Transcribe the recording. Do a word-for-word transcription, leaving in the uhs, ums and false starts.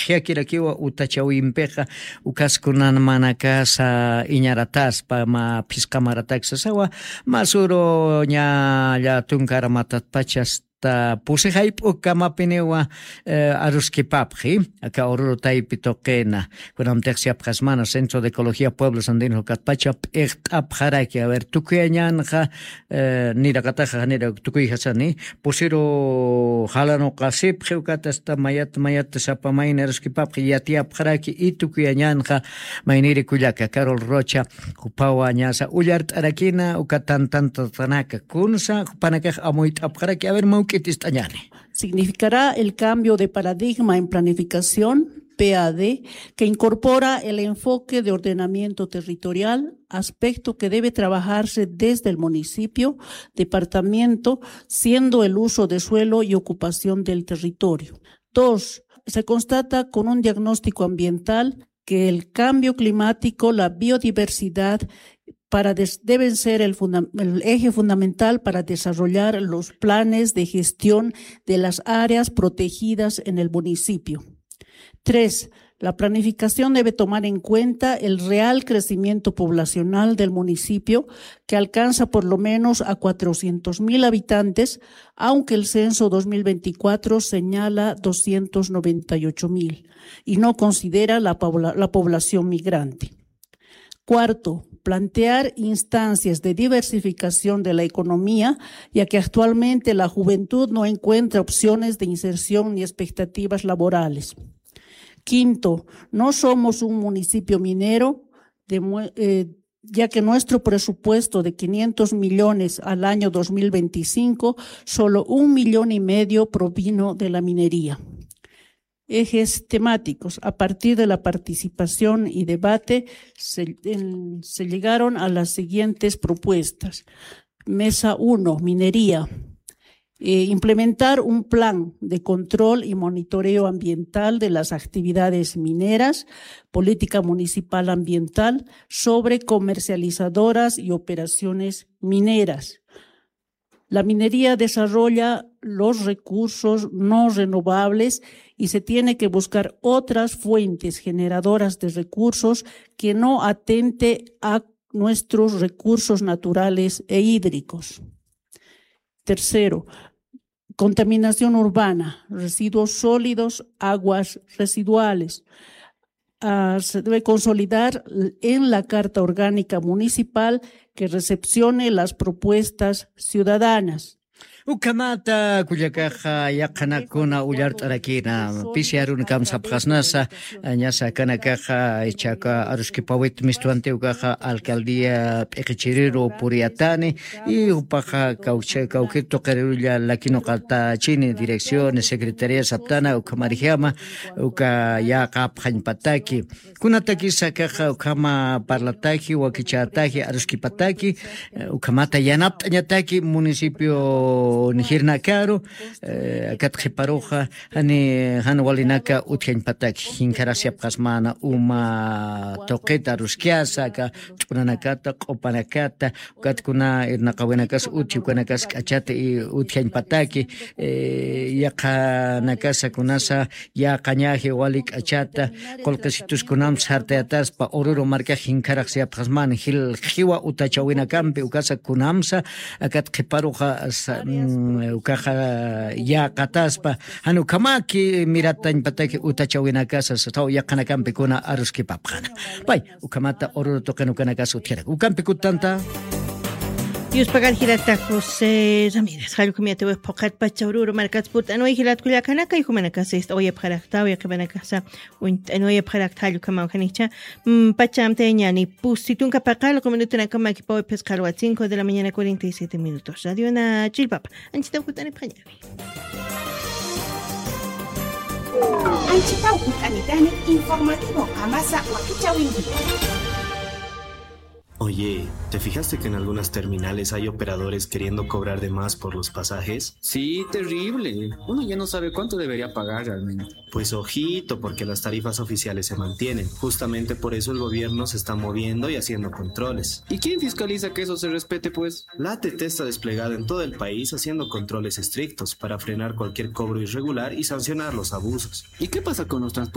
qhiyakirakiwa utachawimpixa, ukas kunan manakasa iñarataspa, mä phisqa maratak sasawa, mä suru ña llatunkar matatpachas ta pusi jayp'uk kamapiniwa, eh, aruskipapxi, aka Oruro taypi tuqina. Kunamtix siyapxasmana Centro de Ecología Pueblos Andinos ukatpacha p'iqt'apxaraki. A ver, tukuyañanxa, eh, niraqataxa, nira tukuyjasani, pusiru jalanuqasipxi, ukat hasta mayat, mayat sapa mayni aruskipapxi, yatiyapxaraki, y tukuyañanxa, mayniri kullaka, Carol Rocha, jupawa ñasa ullart'arakina, uka tantantatanaka, kunsa, jupanakax amuyt'apxaraki, a ver, mawk'it ist'añani. Significará el cambio de paradigma en planificación, P A D, que incorpora el enfoque de ordenamiento territorial, aspecto que debe trabajarse desde el municipio, departamento, siendo el uso de suelo y ocupación del territorio. Dos, se constata con un diagnóstico ambiental que el cambio climático, la biodiversidad, para des-, deben ser el funda-, el eje fundamental para desarrollar los planes de gestión de las áreas protegidas en el municipio. Tres, la planificación debe tomar en cuenta el real crecimiento poblacional del municipio, que alcanza por lo menos a cuatrocientos mil habitantes, aunque el censo dos mil veinticuatro señala doscientos noventa y ocho mil y no considera la pobla-, la población migrante. Cuarto, plantear instancias de diversificación de la economía, ya que actualmente la juventud no encuentra opciones de inserción ni expectativas laborales. Quinto, no somos un municipio minero, de mue-, eh, ya que nuestro presupuesto de quinientos millones al año dos mil veinticinco, solo un millón y medio provino de la minería. Ejes temáticos. A partir de la participación y debate, se, en, se llegaron a las siguientes propuestas. Mesa uno, minería. Eh, implementar un plan de control y monitoreo ambiental de las actividades mineras, política municipal ambiental sobre comercializadoras y operaciones mineras. La minería desarrolla los recursos no renovables y se tiene que buscar otras fuentes generadoras de recursos que no atente a nuestros recursos naturales e hídricos. Tercero, contaminación urbana, residuos sólidos, aguas residuales. Ah, se debe consolidar en la Carta Orgánica Municipal que recepcione las propuestas ciudadanas. Ukhamata kullakaxa yaqhanakuna ullart'arakina, pisi arunakam sapxasnasa, ñasa akanakaxa ichaka aruskipawit mistuwanti ukaxa alcaldía p'iqichiriru puriyatani, y jupaxa kawkha-, kawkir tuqirulla lakinuqatachini direcciones, secretaría saptana, ukhamarjama, uka yaqapxañpataki. Kunatakisa akaxa ukhama parlataki, wakichätaki, aruskipataki, eh, ukhamata yanapt'añataki municipio nijirnakaru, eh, akat qhiparuxa, jani, jan walinaka utjañpataki, jinkharasiyapxasmana uma tuqita aruskiyasa, aka ch'unanakata, q'upanakata, ukat kuna irnaqawinakas utji, ukanakas k'achata, y utjañpataki, eh, yaqhanakasa kunasa, yaqañaji wali k'achata, qullqisitus kunam sartayataspa, Oruro markax jinkharaq siyapxasmana, jil-, jiwa utachawinakampi, ukasa kunamsa, akat qhiparuxa, sa-, mm, ukaxa yaqataspa, jan ukhamaki miratañpataki utachawinakasa, sasaw yaqanakampi kuna aruskipapxana. Pay, ukhamata Oruro tuqin ukanakas utjirak. Ukampi kutanta. Yuspagar jirata José Ramírez. Jallukhamiyatiwix phuqhat pacha Oruro markats purt'anway jilat kullakanaka, y jumanakasa ist'awayapxaraktaw, yaqhipanakasa uñt'anwayapxarakta, jallukhamawjanicha. Mm, pachamtayañani pusi tunka paqallqu minutunakama, kipawi phisqa alwat cinco de la mañana, cuarenta y siete minutos. Radiona Chillpapa. Anchitaw jut'anipxaña. Anchitaw jut'anitani informativo Qamasa Wakichäwinki. Oye, ¿te fijaste que en algunas terminales hay operadores queriendo cobrar de más por los pasajes? Sí, terrible. Uno ya no sabe cuánto debería pagar realmente. Pues ojito, porque las tarifas oficiales se mantienen. Justamente por eso el gobierno se está moviendo y haciendo controles. ¿Y quién fiscaliza que eso se respete, pues? La A T T está desplegada en todo el país haciendo controles estrictos para frenar cualquier cobro irregular y sancionar los abusos. ¿Y qué pasa con los transportistas?